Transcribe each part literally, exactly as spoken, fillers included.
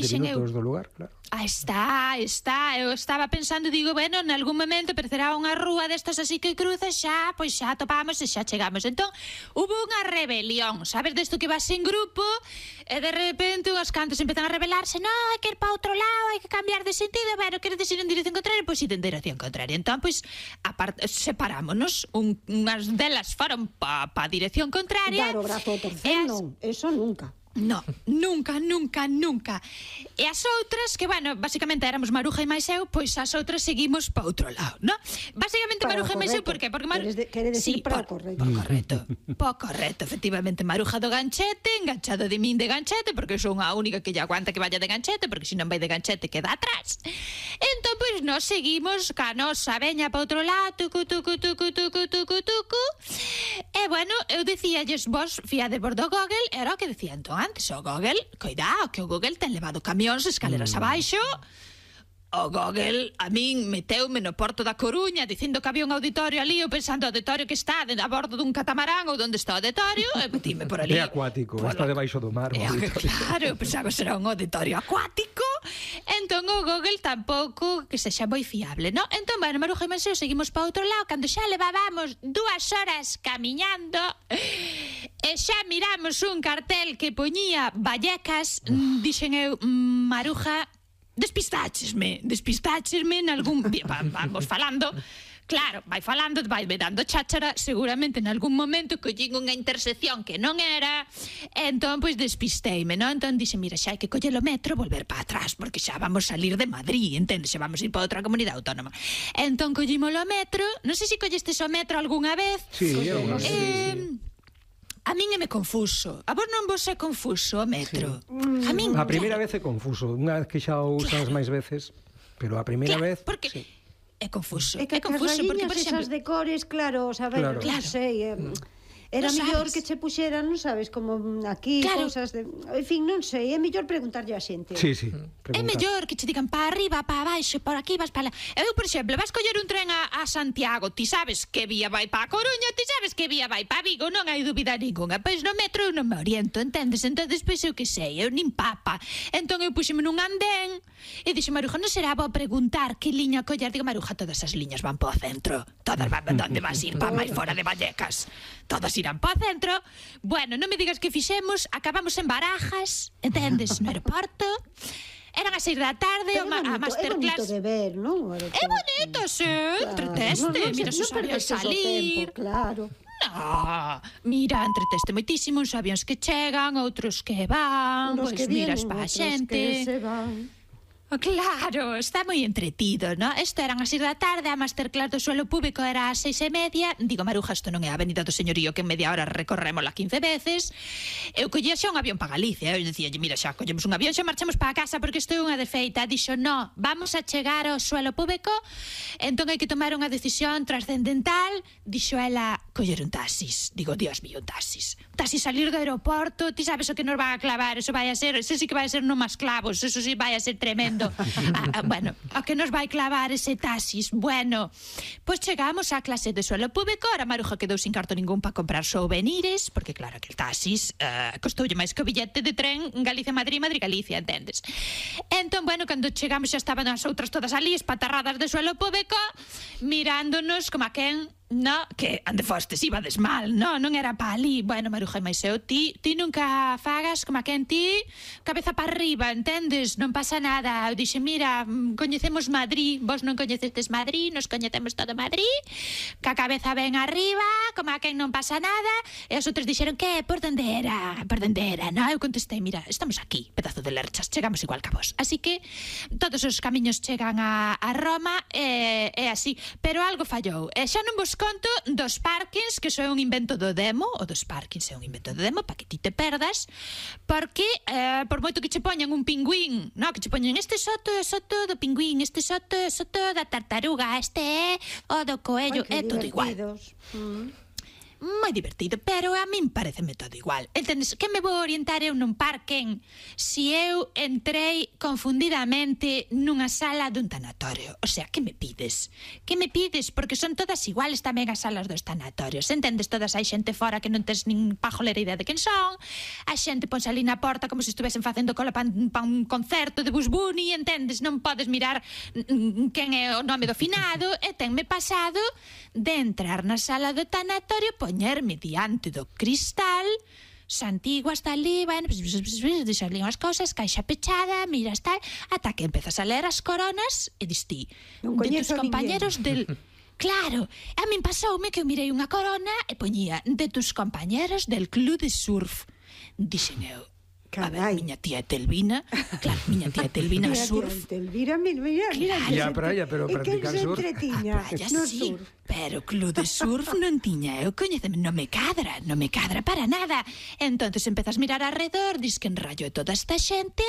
vinte minutos do lugar, claro. Ah, está, está, eu estaba pensando, digo, bueno, en algún momento aparecerá unha rúa destas así que cruzas, xa, pois xa topamos e xa chegamos. Entón, hubo unha rebelión, sabes, desto que vas en grupo e de repente os cantos empezan a rebelarse, no, hai que ir para outro lado, hai que cambiar de sentido, bueno, queredes ir en dirección contraria, pois ir en dirección contraria. Entón, pois, aparte, separámonos, un, unhas delas foron pa, pa dirección contraria. Dar o brazo ao torcer, as... non, eso nunca. No, nunca, nunca, nunca. E as outras, que, bueno, basicamente éramos Maruja e máis eu, pois as outras seguimos pa outro lado, non? Basicamente para Maruja e máis eu, por que? Porque Mar... Queres, de, queres sí, decir para por, correcto. Por correcto, por correcto, efectivamente. Maruja do ganchete, enganchado de min de ganchete, porque son a única que lle aguanta que vaya de ganchete, porque se non vai de ganchete queda atrás. Entón, pois, nos seguimos ca nosa veña pa outro lado, tucu, tucu, tucu, tucu, tucu, tucu. E, bueno, eu dicíalles, vos fiade por do Google, era o que decía entón antes, o Google, coidado, que o Google ten levado camións, escaleras mm. abaixo. O Google a min meteume no Porto da Coruña dicindo que había un auditorio ali, eu pensando o auditorio que está a bordo dun catamarán ou donde está o auditorio, e metime por ali. É acuático, polo... está debaixo do mar. É, claro, eu pensaba que será un auditorio acuático. Entón o Google tampouco que sexa moi fiable, non? Entón, bueno, Maruja e Manseo seguimos para outro lado, cando xa levábamos dúas horas camiñando e xa miramos un cartel que poñía Vallecas, dixen eu, Maruja, despistáchesme, despistáchesme en algún... Vamos falando... Claro, vai falando, vai dando cháchara, seguramente en algún momento collín unha intersección que non era, e entón, pois, despisteime, non? Entón, dixe, mira, xa hai que coller o metro e volver para atrás, porque xa vamos salir de Madrid, entendes? Xa vamos ir para outra comunidade autónoma. Entón, collímos o metro, non sei se collestes o metro algunha vez. Sí, eu non sei. Eh, a min é me confuso. A vos non vos é confuso o metro? Sí. A min... A primeira vez é confuso, unha vez que xa o usas claro. máis veces, pero a primeira claro, vez... Porque... Sí. É confuso, é que é confuso porque, por exemplo, esas de cores, claro, sabes, claro. non sei, eh, era non mellor sabes. que che puxeran, non sabes, como aquí, claro. cousas de... En fin, non sei, é mellor preguntarlle a xente. Sí, sí, é mellor que che digan para arriba, para abaixo, por aquí, vas para lá. Eu, por exemplo, vas coller un tren a, a Santiago, ti sabes que vía vai para a Coruña, ti sabes que vía vai para Vigo, non hai dúbida ninguna. Pois no metro eu non me oriento, entendes? Entón, despois eu que sei, eu nin papa. Entón eu puxeme nun andén e dixo, Maruja, non será bo preguntar que liña coller? Digo, Maruja, todas as liñas van para o centro. Todas van, onde vas ir? Para máis fora de Vallecas. Todas irán para o centro. Bueno, non me digas que fixemos, acabamos en Barajas, entendes, no aeroporto. Eran as seis da tarde, Pero o ma a masterclass. É bonito de ver, non? É bonito, sí, claro. Entreteste, no, no, mira, no, os no avións salir. Tempo, claro. No, mira, entreteste moitísimo, uns avións que chegan, outros que van, pois pues miras pa a xente. Que se van. Oh, claro, está moi entretido, non? Isto eran as seis da tarde, a masterclass do suelo público era as seis e media. Digo, Maruja, isto non é a avenida do señorío que en media hora recorrémola quince veces. Eu collía xa un avión para Galicia. Eu dicía, mira, xa collemos un avión, xa marchamos para a casa porque isto é unha defeita. Dixo, no, vamos a chegar ao suelo público, entón hai que tomar unha decisión trascendental. Dixo ela, coller un taxis. Digo, Dios mío, un taxis. Un taxis salir do aeroporto, ti sabes o que nos vai a clavar, eso vai a ser, eso sí que vai a ser non máis clavos, eso sí vai a ser tremendo. Ah, ah, bueno, a que nos vai clavar ese taxis. Bueno, pois pues chegamos á clase de suelo público. Ahora Maruja quedou sin carto ningún para comprar souvenirs, porque claro que el taxis uh, costoulle máis que o billete de tren Galicia-Madrid, Madrid-Galicia, entendes? Entón, bueno, cando chegamos xa estaban as outras todas ali, espatarradas de suelo público, mirándonos como a quen... No, que ande fostes, ibades mal, no, non era pa ali. Bueno, Maruja e Maiseu, ti, ti nunca fagas como a quen ti, cabeza para arriba, entendes? Non pasa nada. Eu dixe, mira, coñecemos Madrid, vos non coñecedes Madrid, nos coñecemos todo Madrid, que a cabeza ben arriba, como a quen non pasa nada. E os outros dixeron, que, por donde era? Por donde era, no? Eu contestei, mira, estamos aquí, pedazo de lerchas, chegamos igual que a vos. Así que todos os camiños chegan a, a Roma, e, e así. Pero algo fallou, e xa non vos conto dos parkings, que iso é un invento do demo. O dos parkings é un invento do demo para que ti te perdas, porque eh, por moito que che poñan un pingüín, no, que che poñan este soto é soto do pingüín, este soto é soto da tartaruga, este é o do coello, é todo igual. Mm. moi divertido, pero a min pareceme todo igual. Entendes? Que me vou orientar eu nun parque si eu entrei confundidamente nunha sala dun tanatorio? O sea, que me pides? Que me pides? Porque son todas iguales tamén as salas dos tanatorios. Entendes? Todas hai xente fora que non tes nin pajolera idea de quen son. A xente ponse ali na porta como se estuvesen facendo cola pa un concerto de Bugs Bunny, entendes? Non podes mirar quen é o nome do finado. E tenme pasado de entrar na sala do tanatorio, poñerme diante do cristal, Santiago hasta ali, bueno, deixar ali unhas cousas, caixa pechada, miras tal, ata que empezas a ler as coronas e dis ti, de tus compañeros del... Claro, a min pasoume que eu mirei unha corona e poñía de tus compañeros del club de surf. Dixen eu, a ver, miña tía Telvina, claro, miña tía Telvina surf. Miña tía Telvina, mira, mira, mira. E a praia, pero practicar surf. E quen se entretiña no surf. Pero club de surf non tiña, eu coñeceme, non me cadra, non me cadra para nada. Entonces empezas a mirar alrededor, dis que en rayo é toda esta xente,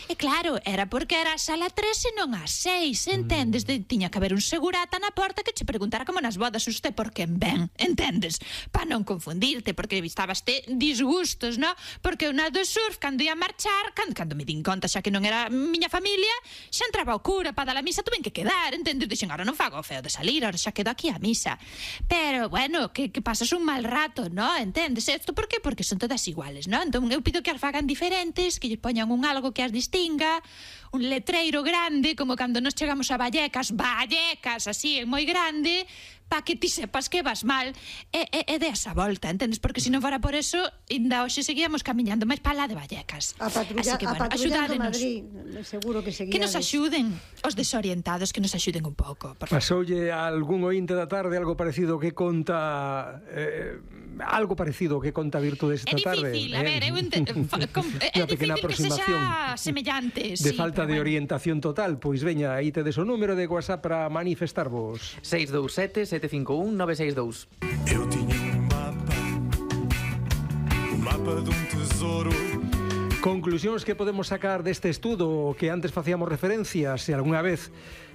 e claro, era porque era a sala tres e non a seis, entendes? De, tiña que haber un segurata na porta que che preguntara como nas bodas usted por quen ven, entendes? Pa non confundirte, porque estabas te disgustos, no? Porque unha do surf, cando ia marchar, cando, cando me din conta xa que non era miña familia, xa entraba o cura para dar a misa, tuven que quedar, entendes? Dixen, ahora non fago o feo de salir, ahora xa quedo aquí a misa. Pero, bueno, que, que pasas un mal rato, ¿no? Entendes? Esto por qué? Porque son todas iguales, ¿no? Entón, eu pido que as fagan diferentes, que lle poñan un algo que as distinga, un letreiro grande, como cando nos chegamos a Vallecas, Vallecas, así, moi grande, pa que ti sepas que vas mal, e, e, e deas a volta, entendes? Porque se non fora por eso, ainda hoxe seguíamos camiñando máis pa lá de Vallecas. A patrulla, así que, bueno, a patrullando axudádenos. Madrid, seguro que seguíades. Que nos axuden, os desorientados, que nos axuden un pouco, por favor. Pasoulle a algún ointe da tarde algo parecido que conta... Eh, algo parecido que conta Virtudes esta tarde. É difícil, a ver, eu ente... é difícil que sexa semellante. De sí, falta de bueno. orientación total, pois veña, aí tedes o número de WhatsApp para manifestarvos. seis dous sete, sete cinco un, nove seis dous. Eu tiña un mapa, un mapa dun tesouro. Conclusións que podemos sacar deste estudo que antes facíamos referencia, se algunha vez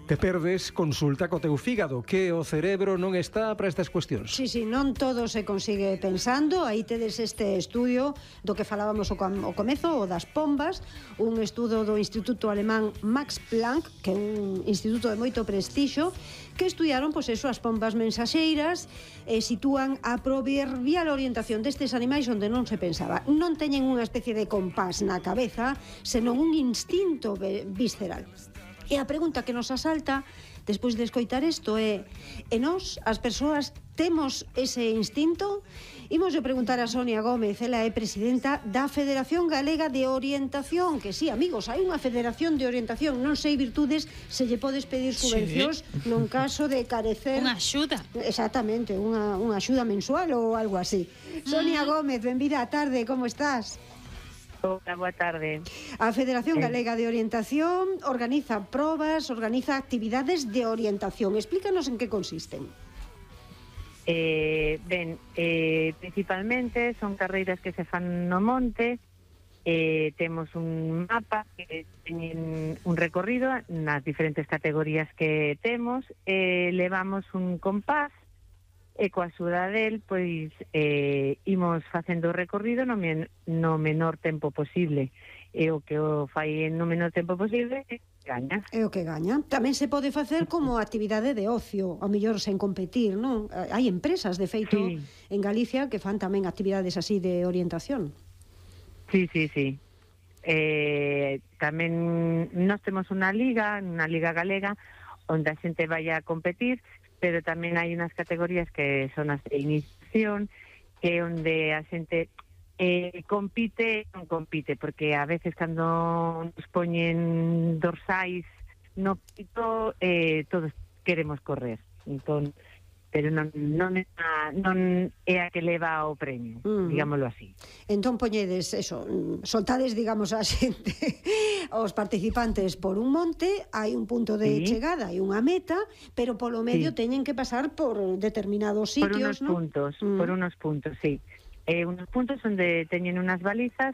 te perdes, consulta co teu fígado, que o cerebro non está para estas cuestións. Sí, sí, non todo se consigue pensando. Aí tedes este estudio do que falábamos o, o comezo, o das pombas, un estudo do Instituto Alemán Max Planck, que é un instituto de moito prestixio, que estudiaron, pois eso, as pombas mensaxeiras e sitúan a proverbial orientación destes animais onde non se pensaba. Non teñen unha especie de compás na cabeza, senón un instinto visceral. E a pregunta que nos asalta despois de escoitar isto é: e nós, as persoas, temos ese instinto? Imos a preguntar a Sonia Gómez, ela é presidenta da Federación Galega de Orientación, que sí, amigos, hai unha Federación de Orientación, non sei, Virtudes, se lle podes pedir subvencións sí. nun caso de carecer... Unha axuda. Exactamente, unha, unha axuda mensual ou algo así. Sonia Gómez, benvida á tarde, como estás? Hola, boa tarde. A Federación Galega de Orientación organiza probas, organiza actividades de orientación. Explícanos en que consisten. Eh, ben, eh, principalmente son carreiras que se fan no monte. Eh, temos un mapa que teñen un recorrido nas diferentes categorías que temos. Eh, levamos un compás e coa axuda del, pois, eh, imos facendo o recorrido no, men no menor tempo posible. E o que o fai no menor tempo posible gaña. É o que gaña. Tamén se pode facer como actividade de ocio, ao mellor sen competir, non? Hai empresas, de feito, sí, en Galicia que fan tamén actividades así de orientación. Sí, sí, sí. Eh, tamén nós temos unha liga, unha liga galega, onde a xente vai a competir, pero tamén hai unhas categorías que son as de iniciación, que é onde a xente eh, compite, non compite, porque a veces cando nos poñen dorsais no pito, eh, todos queremos correr, entón, pero non, non, é a, non é a que leva o premio, uh-huh, digámoslo así. Entón poñedes, eso, soltades, digamos, a xente, os participantes por un monte, hai un punto de sí. chegada, hai unha meta, pero polo medio sí. teñen que pasar por determinados sitios, por unos ¿no? puntos, uh-huh. por unos puntos, sí. Eh, unos puntos onde teñen unas balizas,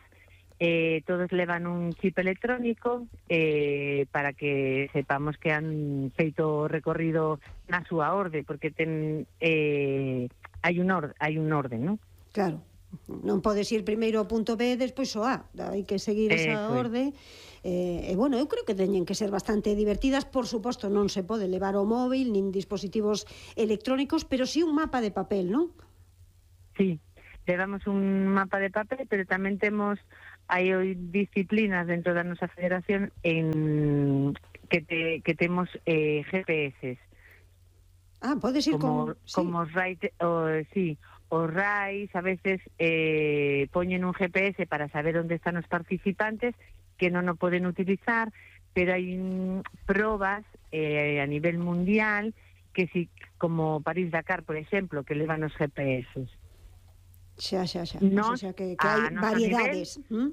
eh, todos levan un chip electrónico eh, para que sepamos que han feito o recorrido na súa orde, porque ten, eh, hai un orden, hai un orden, non? Claro. Non podes ir primeiro ao punto B e despois ao A. Hai que seguir esa Eso é. orde. Eh, e, bueno, eu creo que teñen que ser bastante divertidas. Por suposto, non se pode levar o móvil, nin dispositivos electrónicos, pero sí un mapa de papel, non? Sí, levamos un mapa de papel, pero tamén temos hai disciplinas dentro da nosa federación en que te, que temos eh, G P S. Ah, podes ir como, con... Sí. como os RAI, o, sí, os RAIs a veces eh, poñen un G P S para saber onde están os participantes que non o poden utilizar, pero hai mm, probas eh, a nivel mundial que si, como París-Dakar, por exemplo, que levan os G P S. Xa, xa, xa. Nos, O sea, que, que hai variedades. Nivel, ¿Mm?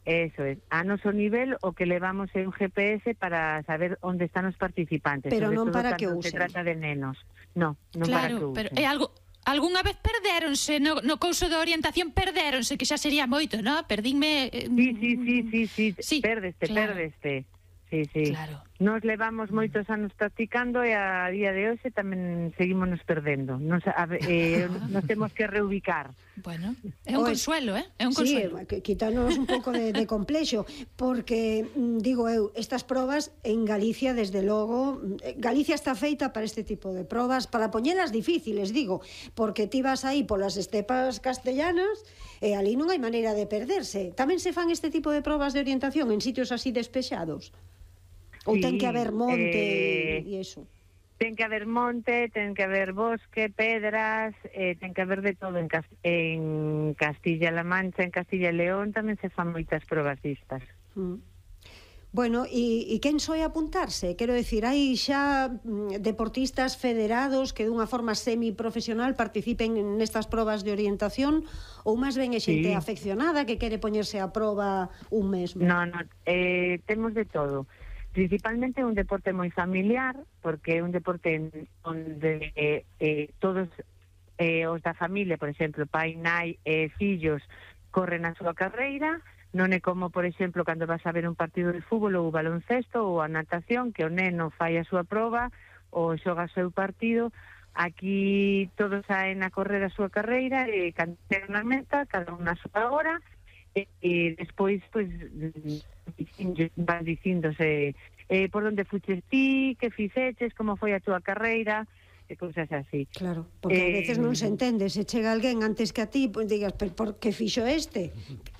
Eso es. A noso nivel o que levamos é un G P S para saber onde están os participantes. Pero non para que usen. Se usen. trata de nenos. No, non Claro, para que usen. pero é algo... Algúnha vez perdéronse no, no couso de orientación, perdéronse, que xa sería moito, non? Perdínme... Eh, Sí, sí, sí, sí, sí, sí, perdeste, claro. perdeste. Sí, sí. Claro. Nos levamos moitos anos practicando e a día de hoxe tamén seguimos nos perdendo. Nos, a, eh, nos temos que reubicar. Bueno, é un Oe, consuelo, eh? É un Sí, consuelo. que- quítanos un pouco de, de complexo, porque, mm, digo eu, estas probas en Galicia, desde logo, mm, Galicia está feita para este tipo de probas, para poñelas difíciles, digo, porque ti vas aí polas estepas castellanas e ali non hai maneira de perderse. Tamén se fan este tipo de probas de orientación en sitios así despexados? Ou Sí, ten que haber monte eh, e iso? Ten que haber monte, ten que haber bosque, pedras, eh, ten que haber de todo en, Cas en Castilla-La Mancha, en Castilla e León tamén se fan moitas probas distas. Mm. Bueno, e, e quen soe apuntarse? Quero decir, hai xa mm, deportistas federados que dunha forma semiprofesional participen nestas probas de orientación, ou máis ben é xente Sí. afeccionada que quere poñerse a proba un mesmo? No, no, eh, temos de todo. Principalmente un deporte moi familiar, porque é un deporte en, onde eh, eh, todos eh, os da familia, por exemplo, pai, nai e fillos corren a súa carreira. Non é como, por exemplo, cando vas a ver un partido de fútbol ou baloncesto ou a natación, que o neno fai a súa proba ou xoga o seu partido. Aquí todos saen a correr a súa carreira e cando chegan na meta, cada un na súa hora, e, e despois, pois, van dicíndose eh, por onde fuches ti, que fixeches, como foi a túa carreira, e cousas así. Claro, porque a Eh, veces non se entende, se chega alguén antes que a ti, pois digas, pero por que fixo este?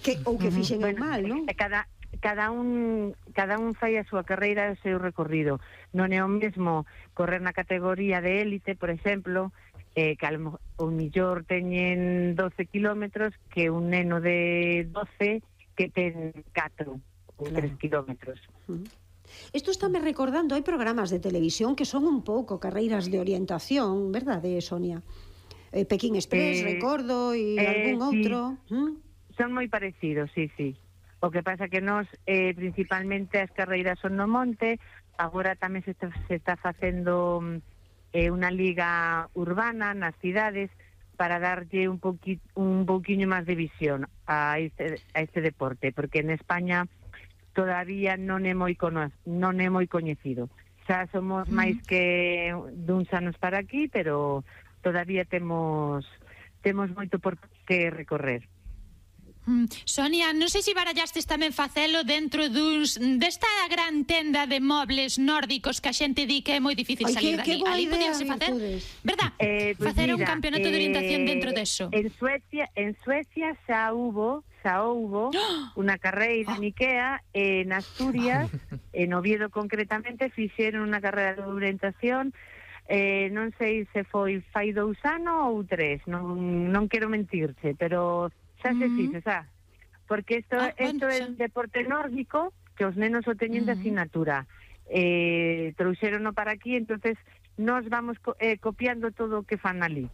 Que, ou que fixen eu mal, non? Cada, cada un cada un fai a súa carreira e o seu recorrido. Non é o mesmo correr na categoría de élite, por exemplo, eh, que ao o millor teñen doce kilómetros, que un neno de doce que ten catro ou tres kilómetros. Isto estáme recordando, hai programas de televisión que son un pouco carreiras de orientación, verdade, Sonia? Eh, Pekín Express, Eh, recordo, e eh, algún sí. outro. ¿Mm? Son moi parecidos, sí, sí. O que pasa que nós, eh, principalmente as carreiras son no monte, agora tamén se está, se está facendo eh, unha liga urbana nas cidades para darlle un, poqui, un pouquiño máis de visión a este, a este deporte, porque en España todavía non é moi cono, non é moi coñecido. Xa somos máis que duns anos para aquí, pero todavía temos temos moito por que recorrer. Mm, Sonia, non sei se barallastes tamén facelo dentro duns desta gran tenda de mobles nórdicos que a xente di que é moi difícil Ai, salir que- que dali. boa Ali idea, podíase facer, Virtudes. verdad? Eh, pues facer un mira, campeonato de orientación eh, dentro deso. En Suecia, en Suecia xa hubo, xa houbo unha carreira en Ikea, en Asturias, en Oviedo concretamente, fixeron unha carreira de orientación, eh, non sei se foi fai dous anos ou tres, non, non quero mentirche, pero xa se Mm. fixe, xa. Porque isto, Ah, bueno, isto é xa. un deporte nórdico que os nenos o teñen de Mm. asignatura. Eh, trouxerono para aquí, entonces nos vamos co eh, copiando todo o que fan ali.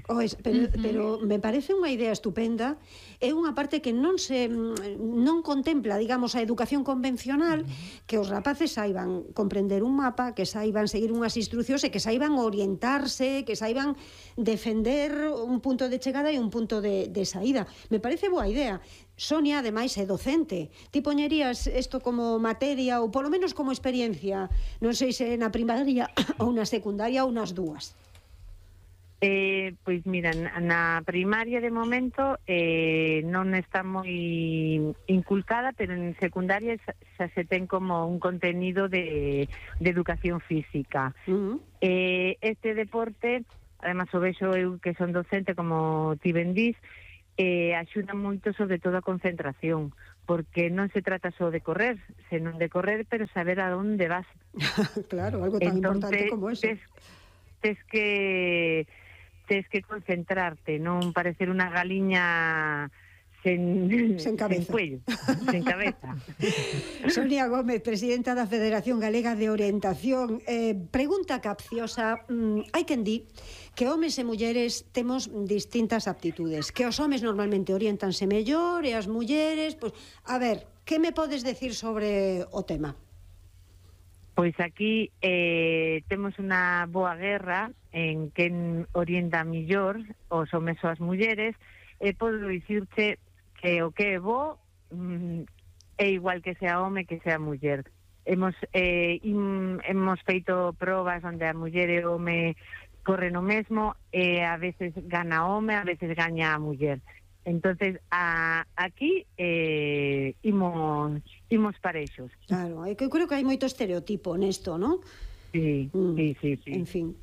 Ois, pero, pero me parece unha idea estupenda. É unha parte que non se non contempla, digamos, a educación convencional, que os rapaces saiban comprender un mapa, que saiban seguir unhas instruccións e que saiban orientarse, que saiban defender un punto de chegada e un punto de, de saída. Me parece boa idea. Sonia, ademais, é docente. Ti poñerías isto como materia ou polo menos como experiencia, non sei se na primaria ou na secundaria ou nas dúas. Eh, pois mira, na primaria de momento eh, non está moi inculcada, pero en secundaria xa, xa se ten como un contenido de, de educación física. Uh-huh. eh, este deporte, además o vexo eu que son docente, como ti ben dís, eh, axuda moito sobre todo a concentración, porque non se trata só de correr, senón de correr, pero saber a onde vas. Claro, algo tan Entonces, importante como eso. Tes, tes que tes que concentrarte, non parecer unha galiña sen, sen cabeza. Sen cuello, sen cabeza. Sonia Gómez, presidenta da Federación Galega de Orientación. Eh, pregunta capciosa. Mm, hai quen di que homes e mulleres temos distintas aptitudes, que os homes normalmente orientanse mellor e as mulleres, pois, a ver, que me podes decir sobre o tema? Pois aquí eh, temos unha boa guerra en quen orienta millor os homes ou as mulleres, e podo dicirte que o que é bo mm, é igual que sea home que sea muller. Hemos, eh, im, hemos feito probas onde a muller e o home corren o mesmo, e a veces gana o home, a veces gaña a muller. Entonces, a, aquí eh, imos, imos parexos. Claro, é que eu creo que hai moito estereotipo nesto, non? Sí, mm. sí, sí, sí. En fin,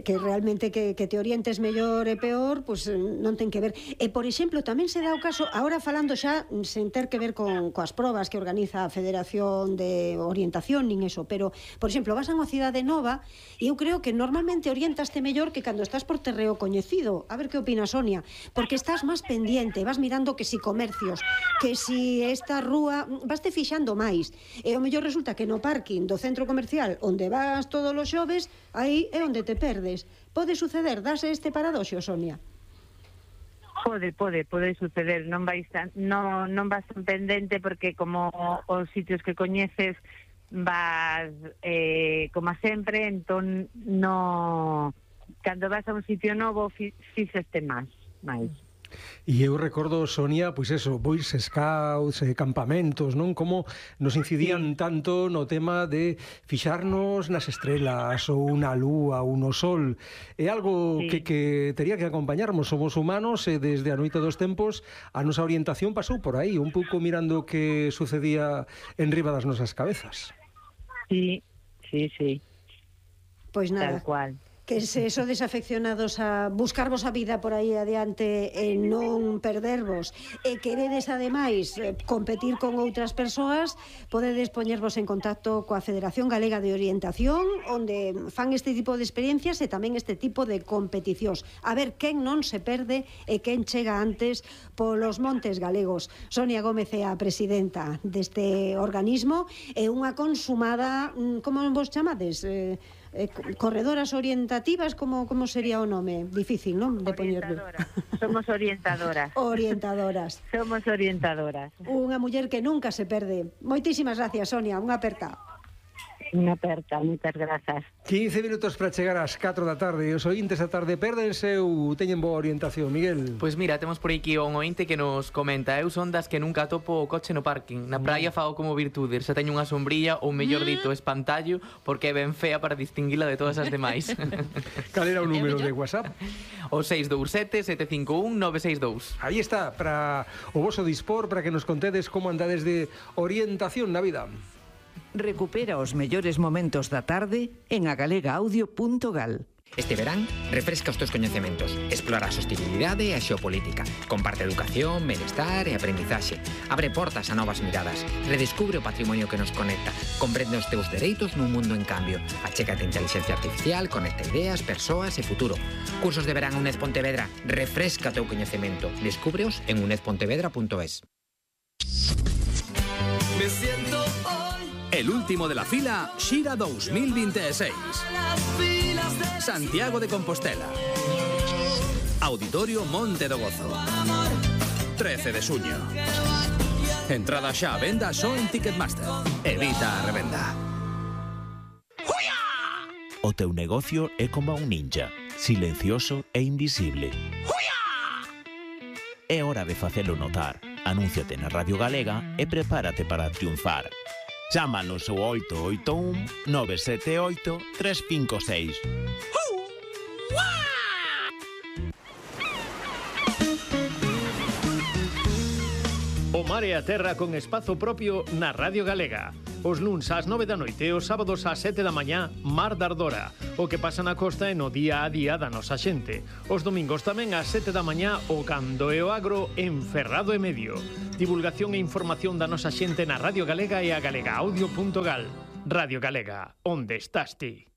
que realmente que, que te orientes mellor e peor, pues non ten que ver. E, por exemplo, tamén se dá o caso, ahora falando xa, sen ter que ver con coas probas que organiza a Federación de Orientación, nin eso, pero, por exemplo, vas a unha cidade nova e eu creo que normalmente orientaste mellor que cando estás por terreo coñecido. A ver que opina Sonia, porque estás máis pendiente, vas mirando que si comercios, que si esta rúa, vas te fixando máis. E o mellor resulta que no parking do centro comercial onde vas todos os xoves, aí é onde te perdes. Pode suceder, dase este paradoxo, Sonia? Pode, pode, pode suceder. Non vais tan, non, non vas tan pendente, porque como os sitios que coñeces vas eh, como sempre, entón no, cando vas a un sitio novo fixeste máis, máis. E eu recordo, Sonia, pois eso, bois scouts, eh, campamentos, non? Como nos incidían sí. tanto no tema de fixarnos nas estrelas ou na lúa ou no sol. É algo sí. que, que tería que acompañarmos, somos humanos, e desde a noite dos tempos a nosa orientación pasou por aí, un pouco mirando o que sucedía en riba das nosas cabezas. Sí, sí, sí. Pois nada. Tal cual. Que se so desafeccionados a buscarvos a vida por aí adiante e non perdervos, e queredes ademais competir con outras persoas, podedes poñervos en contacto coa Federación Galega de Orientación, onde fan este tipo de experiencias e tamén este tipo de competicións. A ver quen non se perde e quen chega antes polos montes galegos. Sonia Gómez é a presidenta deste organismo, e unha consumada, como vos chamades? Eh, Eh, corredoras orientativas, como como sería o nome? Difícil, non? De poñerlo. Somos orientadoras. Orientadoras. Somos orientadoras. Unha muller que nunca se perde. Moitísimas gracias, Sonia. Unha aperta. Unha aperta, moitas grazas. quince minutos para chegar ás catro da tarde. E os ointes da tarde pérdense ou teñen boa orientación, Miguel? Pois mira, temos por aquí un ointe que nos comenta: eu son das que nunca topo o coche no parking. Na praia fago como virtude, se teño unha sombrilla ou mellor dito espantallo, porque é ben fea para distinguila de todas as demais. Cal era o número de WhatsApp? O seis dous sete, sete cinco un, nove seis dous. Aí está, para o voso dispor, para que nos contedes como andades de orientación na vida. Recupera os mellores momentos da tarde en agalegaaudio punto gal. Este verán, refresca os teus coñecementos, explora a sostenibilidade e a xeopolítica, comparte educación, benestar e aprendizaxe, abre portas a novas miradas, redescubre o patrimonio que nos conecta, comprende os teus dereitos nun mundo en cambio, achégate a inteligencia artificial, conecta ideas, persoas e futuro. Cursos de verán UNED Pontevedra, refresca o teu coñecemento, descúbreos en uned pontevedra punto es. Me siento hoy el último de la fila Xira dos mil veintiséis. Santiago de Compostela. Auditorio Monte do Gozo. trece de xuño. Entrada xa a venda só en Ticketmaster. Evita a revenda. O teu negocio é como un ninja, silencioso e invisible. É hora de facelo notar. Anúnciate na Radio Galega e prepárate para triunfar. Chámanos ao oito oito un, nove sete oito, tres cinco seis. O mar e a terra con espazo propio na Radio Galega. Os luns ás nove da noite e os sábados ás sete da mañá, Mar da Ardora. O que pasa na costa e no día a día da nosa xente. Os domingos tamén ás sete da mañá, o Cando e o Agro en Ferrado e Medio. Divulgación e información da nosa xente na Radio Galega e a galega audio punto gal. Radio Galega, onde estás ti?